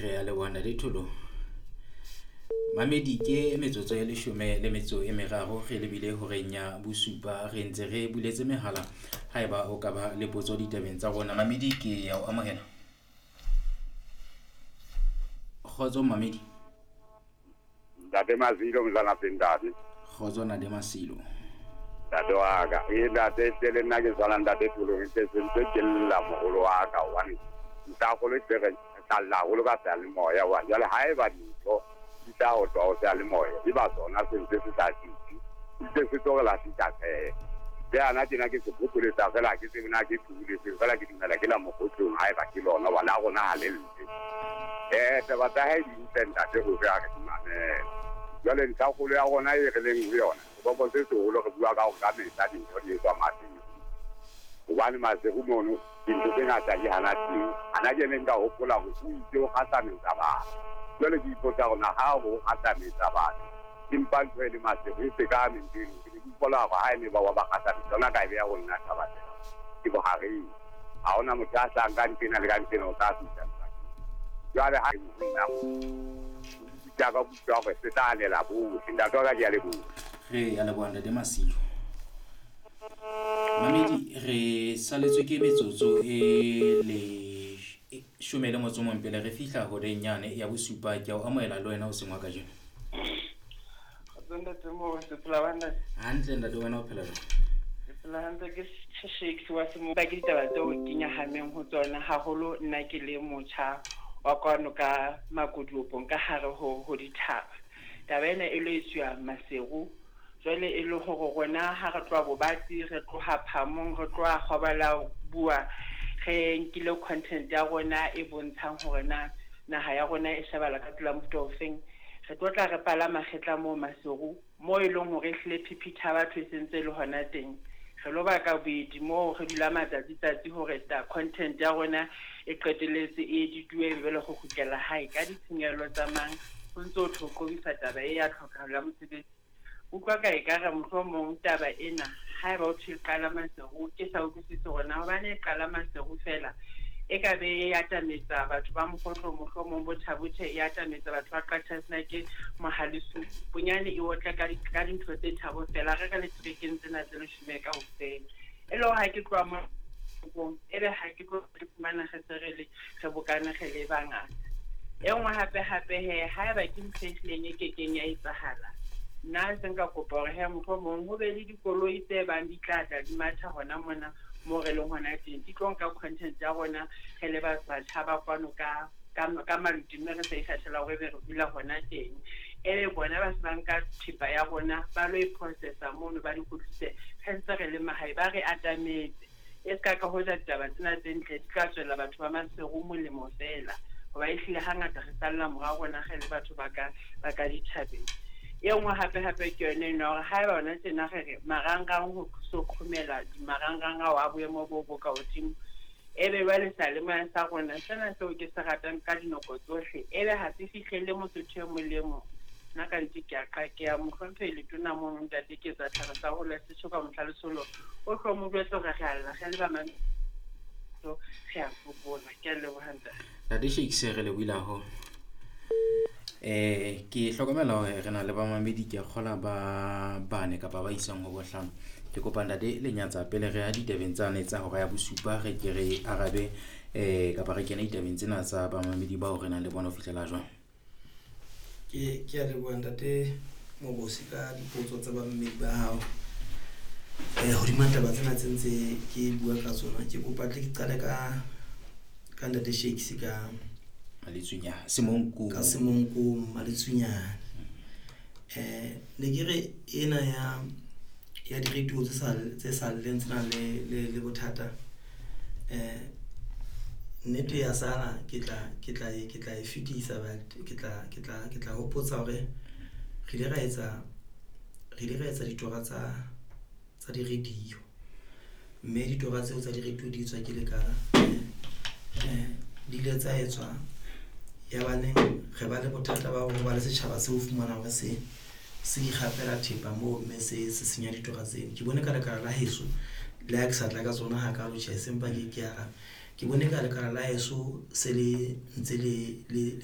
Re a leboha Ntate Tholo. Mamedi ke metsotso e leshome le metso e meraro re lebile horeng ya bosupa. Re ntse re buletse mehala haeba o ka ba le potso ditabeng tsa rona. Mamedi ke ya o amohela. Kgotso Mamedi. Ntate Masilo mzana Pindadi. Kgotso Ntate Masilo. Ntate wa ka. E ntate tle le nna ke tshwana ntate Tholo ke se ntse ke lla moholo wa ka hobane ntakgolo e re tla lla haholo ka seyalemoya wa jwale ha eba dintho di tla ho tswa ho seyalemoya e ba tsona se ntse se sa tsitsi ntse se tlo re lahlisa tshepe. Le ana tjena ke se phopholetsa fela ha ke tsebe na ke phubuletseng fela ke dumela ke la mokgotlong ha eba ke lona hoba la rona ha le lle. Taba tsa hae di ntle ntate hore a re di mamele. Jwale ntlhakgolo ya rona e re leng ho yona, seboko se seholo re bua ka hore ka mehla dintho di etswa Maseru. Hobane Maseru mono dintho tse ngata di hana teng. Hana ke ne nka hopola hore o itse o kgahlametsa batho. Jwale ke ipotsa hore na ha o kgahlametsa batho empa ntho e le Maseru e se ka ntho eno. Ke ne ke utlwa hore ha e ne ba wa ba kgahlametsa yona ka e beha ho nna taba tsena. Ke bohareng. Ha hona motho a hlahang ka nqena le ka nqena o tla fihla sebakeng. Jwale ha e nna ka utlwa hore se tla anela bohle. Ntate wa ka ke a leboha. Re a leboha Ntate Masilo. Mamedi re saletswe ke metsotso e leshome le motso o mong pele re fihla horeng yane ya bosupa. Ke a o amohela le wena hoseng wa kajeno. Kgotso ntate Mose, phela banna. Hantle ntate, wena o phela jwang? Ke phela hantle ke Shakes wa Semo. Ba ke ditaba tseo ke nyahameng ho tsona haholo nna ke le motjha wa kwano ka Makoduopong ka hare ho dithaba. Taba ena e lo etsuwa Maseru. Jwale e le hore rona ha re tloha Bobatsi, re tloha Phamong, re tloha Kgobala bua, re nkile content ya rona e bontshang hore na naha ya rona e shebala ka tsela mofuta ofeng. Re tlo tla re palama kgetla moo Maseru, moo e leng hore ehlile phiphithi ya batho e sentse le hona teng. Re lo baka boedi moo re dula matsatsi tsatsi hore ta content ya rona e qetelletse e edituwe e be le go kgutlela hae ka ditshenyehelo tsa mang. Ho ntso ho qobisa taba e ya tlhokahalo ya mosebetsi. Utlwa ka ekare mohlomong taba ena haeba o thwe e qala Maseru ke sa utlwisise hore na hobane e qala Maseru fela e ka be e atametsa batho ba Mokgotlo mohlomong bo Thabuthe e atametsa batho ba Qachasenake Mohalesu bonyane e otle ka dintho tse thabo fela re re le trekeng tsena tse leshome kaofela. E le hore ha ke tloha mo ebe ha ke tlo re fumana re se re le re bokane re le bangata. E nngwe hape hape he haeba ke ntho e hlileng e kekeng ya etsahala, nna se nka kopa hore he mohlomong ho be le dikoloi tse bang di tla tla di matha hona mona mo re leng hona teng, di tlo nka content ya rona re le batjha ba kwano ka maluti mme re sa ikgethela hore ebe re dula hona teng. Ebe bona ba se ba nka thepa ya rona ba lo e processa mono ba di kgutlise re ntse re le mahae, ba re atametse. E ska ka hoja ditaba tsena tse ntle di tla tswela batho ba Maseru molemo fela, hoba ehlile hangata re salla morao rona re le batho ba ka dithabeng. E nngwe hape hape ke yone eno ya hore haeba hona tjena re re marangrang ho so qhomela marangrang ao a boemo bo bo ka hodimo, ebe jwale seyalemoya sa rona sena seo ke se ratang ka dinako tsohle ebe ha se fihlelle mosotho e mong le mong. Nna ka nnete ke a qakeha mohlomphehi letona mono ntate ke etsa tlhare sa hole setjho ka mohla lesolo o tlo mo jwetse hore re a lla re le ba re a sokola. Ke a leboha ntate. Ntate Shakes re lebohile haholo. Ke hlokomela hore re na le bamamedi ke a kgola ba bane kapa ba isang ho bohlano. Ke kopa ntate Lenyatsa pele re ya ditabeng tsane tsa hora ya bosupa re ke re arabe kapa re kene ditabeng tsena tsa bamamedi bao re nang le bona ho fihlela jwang. Ke a leboha ntate Mobosi ka dipotso tsa bamamedi ba hao. Hodima taba tsena tse ntse ke bua ka tsona, ke kopa tle ke qale ka ntate Shakes ka Maletsunyane, Semonko. Ka Semonko Maletsunyane. Ne ke re ena ya di-radio tse sa lleng tse nang le bothata. Nnete ya sala ke tla e fetisa, but ke tla hopotsa hore re ile ra etsa ditora tsa di-radio, mme ditora tseo tsa di-radio di etswa ke lekala. Di ile tsa etswa ya baneng re ba le bothata ba hore ba le setjhaba seo fumana hore se ikgapela thepa moo mme se senya ditora tseno. Ke bone ka lekala la heso le ha ke sa tla ka tsona hakalo tjhe, sempa ke a Ke bone ka lekala la heso se le ntse le le le.